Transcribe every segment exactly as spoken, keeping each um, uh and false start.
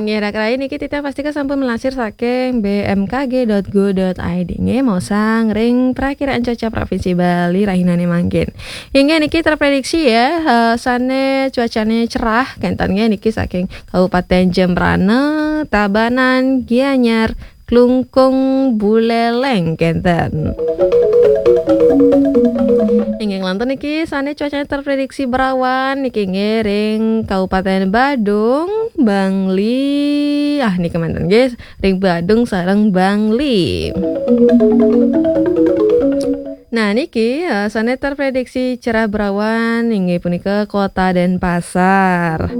Ya, raka rai, niki titiang pastika sampun melansir saking B M K G dot go dot I D nggih, maosang ring prakiraan cuaca Provinsi Bali rahinane mangkin. Inggih, niki terprediksi ya, eh, sane cuacane cerah kenten nggih niki saking Kabupaten Jembrana, Tabanan, Gianyar, Klungkung, Buleleng kenten. Inggih, nglantur niki sane cuacane terprediksi berawan niki nggih ring Kabupaten Badung, Bangli. Ah, niki manten nggih, ring Badung sareng Bangli. Nah, niki, eh, sane terprediksi cerah berawan inggih punika Kota Denpasar.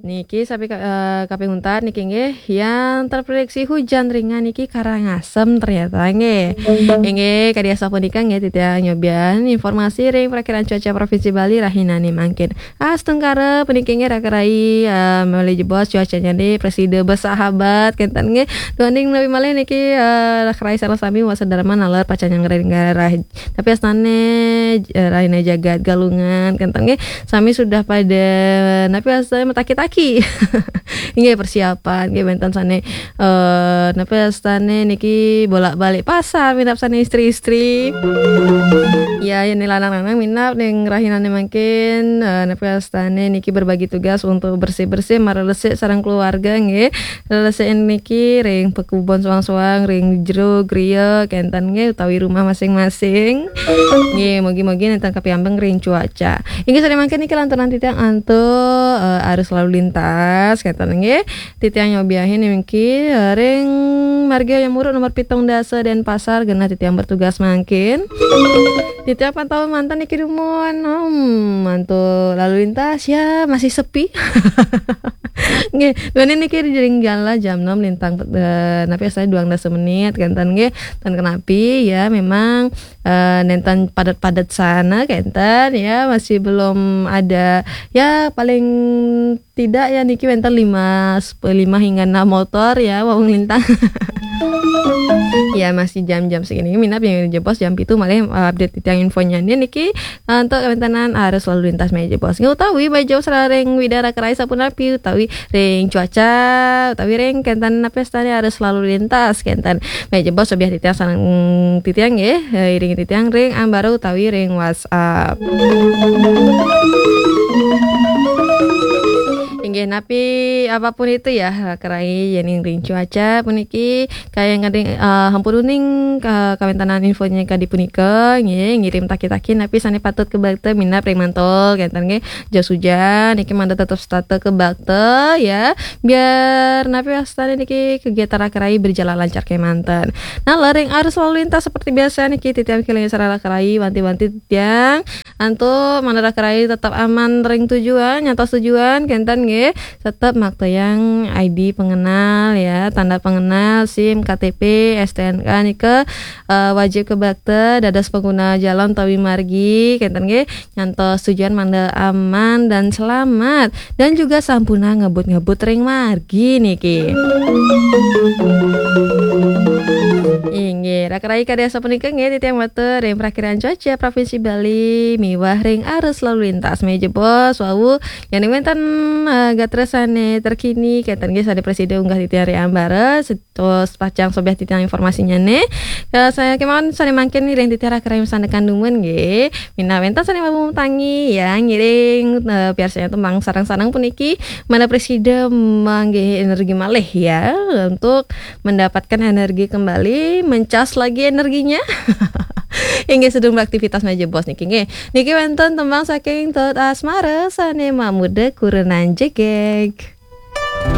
Niki sapi ka-, eh, kaping untat niki nggih yang terprediksi hujan ringan niki Karangasem ternyata nggih. Inggih, kadi asapunika nggih titiang nyobian informasi ring prakiraan cuaca Provinsi Bali rahinane mangkin. Astungkara puniki nggih raka rai, eh, malih jebos cuacanyane prasida bersahabat kenten nggih. Duaning menawi malih niki, eh, raka rai sareng sami wasa darma naler pacang nyanggaring garah. Tapi astane, eh, rahina jagat Galungan kenten nggih. Sami sudah pada napi astane mataki-taki. Nggih persiapan nggih wenten sane, eh, napi astane niki bolak-balik pasar minab sane istri-istri. Ya, yen lanang-lanang minab ning rahinane mangkin, eh, napi astane niki berbagi tugas untuk bersih-bersih marelesik sareng keluarga nggih. Lelesik niki ring pekubon soang-soang, ring jero griya kenten nggih utawi rumah masing-masing. Nggih, mugi-mugi nenten kapiambeng ring cuaca. Inggih sane mangkin niki lanturan titiang antuk, eh, arus lalu lintas kenten nggih. Titiang nyobiahin niki, eh, ring Marga Hayam Wuruk nomor pitung dasa Denpasar genah titiang bertugas mangkin. Titiang pantau manten niki dumun. Hmm, mantuk lalu lintas ya masih sepi. Nggih, duaning niki ring jam lah jam enam lintang, eh, napi astane duang dasa menit kenten nggih. Ten kenapi ya memang, eh, nenten padat-padat sana kenten ya masih belum ada ya paling tidak ya niki wenten lima, sep-, lima hingga enam motor ya wau nglintang. Ya masih jam-jam segini minab yang jebos jam pitu malih, eh, update titiang infonya niki, eh, untuk kewentenan arus lalu lintas malih jebos. Nggih utawi malih jebos ring Widara Kerai sapunapi utawi ring cuaca utawi ring kenten napi astane arus lalu lintas kenten. Malih jebos sobiah titiang sareng titiang nggih, eh, iringi titiang ring ambara utawi ring WhatsApp. Inggih napi apapun itu ya, raka rai yening ring cuaca puniki kayang kading, eh, ampun uning ka-, kawentenan infonya kadi punika nggih, ngirim taki-taki napi sane patut kabakta minab ring mantul kenten nggih. Jas hujan niki mangda tetep setata kabakta ya. Biar napi astane niki kegiatan raka rai berjalan lancar kemanten. Nah, ring arus lalu lintas seperti biasa niki titiang kelingi sareng raka rai wanti-wanti titiang antuk mangda raka rai tetap aman ring tujuan, nyantos tujuan kenten nggih. Tetap maktayang I D pengenal ya, tanda pengenal, SIM, K T P, S T N K nika, eh, wajib kabakta dados pengguna jalan utawi margi kenten nggih. Nyantos tujuan mangda aman dan selamat dan juga sampuna ngebut-ngebut ring margi niki. Inggih, raka rai kadi asapunika nggih titiang matur ring prakiraan cuaca Provinsi Bali miwah ring arus lalu lintas malih jebos wau yen wenten, eh, gatra sane terkini kenten nggih sane prasida unggah titiang ring ambara. Terus pacang sobiah titiang informasinya nih. Ya, saya kemawon sane mangkin ngiring titiang raka rai masandekan dumun nggih. Minab wenten sane wau tangi ya ngiring, eh, piarsayang tembang sareng-sareng puniki mangda prasida manggih energi malih ya untuk mendapatkan energi kembali, mencas lagi energinya. Inggih sedurung beraktivitas malih jebos niki nggih. Niki wenten tembang saking Tut Asmara sane Mamurda Kurenan Jegeg.